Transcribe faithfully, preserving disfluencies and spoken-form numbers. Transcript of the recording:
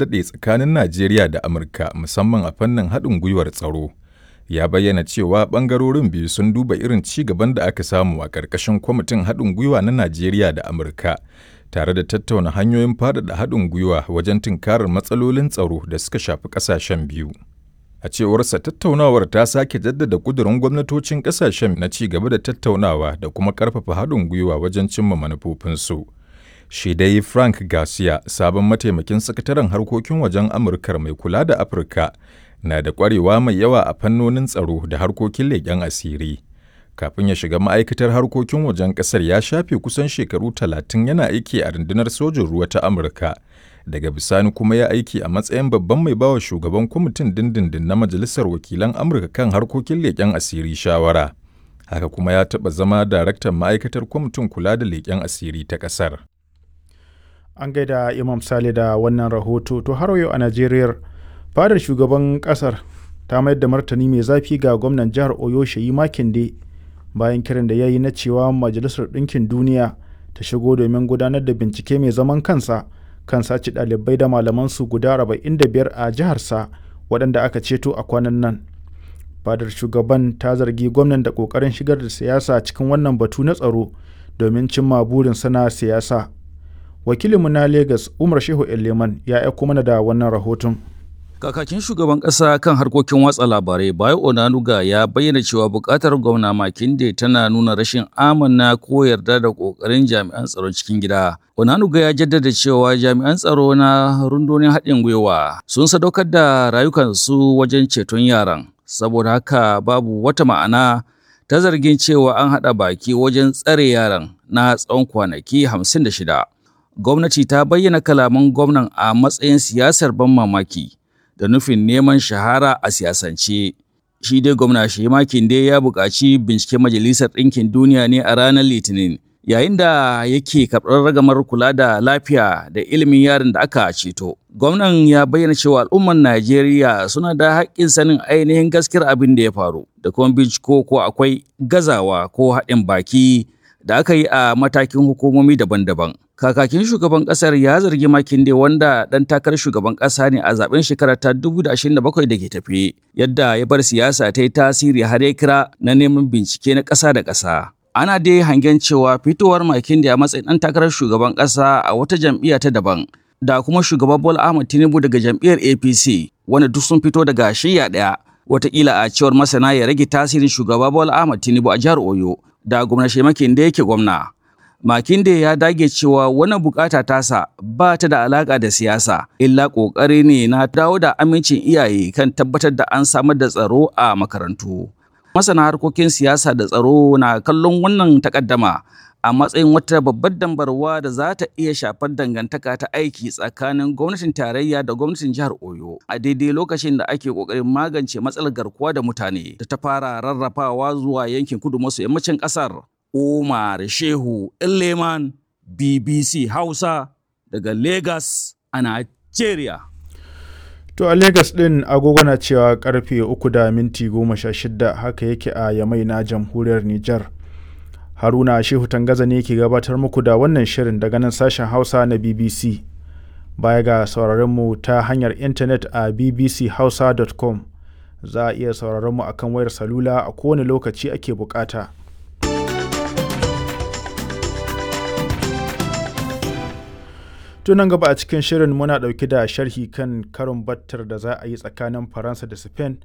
Daɗe tsakanin Najeriya da Amurka, musamman a fannin haɗin gwiwar tsaro, ya bayyana cewa ɓangarorin biyu sun duba irin ci gaban da aka samu a ƙarƙashin Kwamitin Haɗin Gwiwa na Najeriya da Amurka, tare da tattauna hanyoyin faɗaɗa haɗin gwiwa wajen tunkarar matsalolin tsaro da suka shafi ƙasashen biyu. A cewarsa, tattaunawar ta sake jaddada ƙudurin gwamnatocin ƙasashen na ci gaba da tattaunawa da kuma ƙarfafa haɗin gwiwa wajen cimma manufofinsu. Shi dai Frank Garcia, sabon mataimakin sakataren harkokin wajen Amurkar mai kula da Afirka, na da ƙwarewa mai yawa a fannonin tsaro da harkokin leƙen asiri. Kafin ya shiga ma'aikatar harkokin wajen ƙasar ya shafe kusan shekaru talatin yana aiki a rundunar sojin ruwa ta Amurka. Daga bisani kuma ya aiki a matsayin babban mai bawa shugaban kwamitin dindindin na Majalisar Wakilan Amurka kan harkokin leƙen asiri shawara. Haka kuma ya taɓa zama daraktan ma'aikatar kwamitin kula da leƙen asiri ta ƙasar. An gaida Imam Sale da wannan rahoto. To har yau a Najeriya, fadar shugaban kasar ta mayar da martani mai zafi ga gwamnan jihar Oyo Sheyi Makinde bayan kiran da ya yi na cewa Majalisar Ɗinkin Duniya ta shigo domin gudanar da bincike mai zaman kansa kan sace ɗalibai da malamansu guda arba'in da biyar a jiharsa waɗanda aka ceto a kwanan nan. Fadar shugaban ta zargi gwamnan da ƙoƙarin shigar da siyasa cikin wannan batu na tsaro domin cimma burinsa na siyasa. Wakilinmu na Lagos Umar Shehu Eleman ya aiko mana da wannan rahoton. Kakakin shugaban ƙasa kan harkokin watsa labarai Bayo Onanuga ya bayyana cewa buƙatar gwamna Makinde tana nuna rashin amana ko yarda da ƙoƙarin jami'an tsaron cikin gida. Onanuga ya jaddada cewa jami'an tsaro na rundunar haɗin gwiwa sun sadaukar da rayukansu wajen ceton yaran. Saboda haka babu wata ma'ana ta zargin cewa an haɗa baki wajen tsare yaran na tsawon kwanaki hamsin da shida. Gwamnati ta bayyana kalaman gwamnan a matsayin siyasar ban mamaki da nufin neman shahara a siyasance. Shi dai gwamna Shehi Makinde ya buƙaci binciken Majalisar Ɗinkin Duniya ne a ranar Litinin, yayin da yake karɓar ragamar kula da lafiya da ilimin yaran da aka ceto. Gwamnan ya bayyana cewa al'ummar Najeriya suna da haƙƙin sanin ainihin gaskiyar abin da ya faru da kuma binciko ko akwai gazawa ko haɗin baki da aka yi a matakin hukumomi daban-daban. Kakakin shugaban kasar ya zargi Makinde wanda dan takarar shugaban kasa ne a zaben shekara ta dubu biyu da ashirin da bakwai da ke tafe, yadda ya bar siyasa ta yi tasiri har ya kira na neman bincike na ƙasa da ƙasa. Ana dai hangen cewa fitowar Makinde a matsayin dan takarar shugaban ƙasa a wata jam'iyya ta daban da kuma shugaban Bola Ahmed Tinubu daga jam'iyyar A P C wanda duk sun fito daga shiyya ɗaya. Wataƙila a cewar masana ya rage tasirin shugaba Bola Ahmed Tinubu a jihar Oyo da gwamna Makinde yake gwamna. Makinde ya dage cewa wannan bukata tasa ba ta da alaka da siyasa, illa kokari ne na dawo da amincin iyaye kan tabbatar da an samar da tsaro a makarantu. Masana harkokin siyasa da tsaro na kallon wannan takaddama a matsayin wata babbar dambarwa da za ta iya shafar dangantaka ta aiki tsakanin gwamnatin tarayya da gwamnatin jihar Oyo a daidai lokacin da ake kokarin magance matsalar garkuwa da mutane da ta fara rarrafawa zuwa yankin kudu maso yammacin kasar. Umar Shehu Leman, B B C Hausa daga Lagos a Nigeria. To a Lagos ɗin agogo na cewa karfe uku da minti goma sha shida haka yake a Yamai na jamhuriyar Nijar. Haruna Shehu Tangaza ne ke gabatar muku da wannan shirin daga nan sashen Hausa na B B C. Baya ga sauraron mu ta hanyar intanet a b b c hausa dot com za a iya sauraron mu akan wayar salula a kowane lokaci ake bukata. Tunan gaba a cikin shirin muna ɗauke da sharhi kan karon battar da za a yi tsakanin Faransa da Spain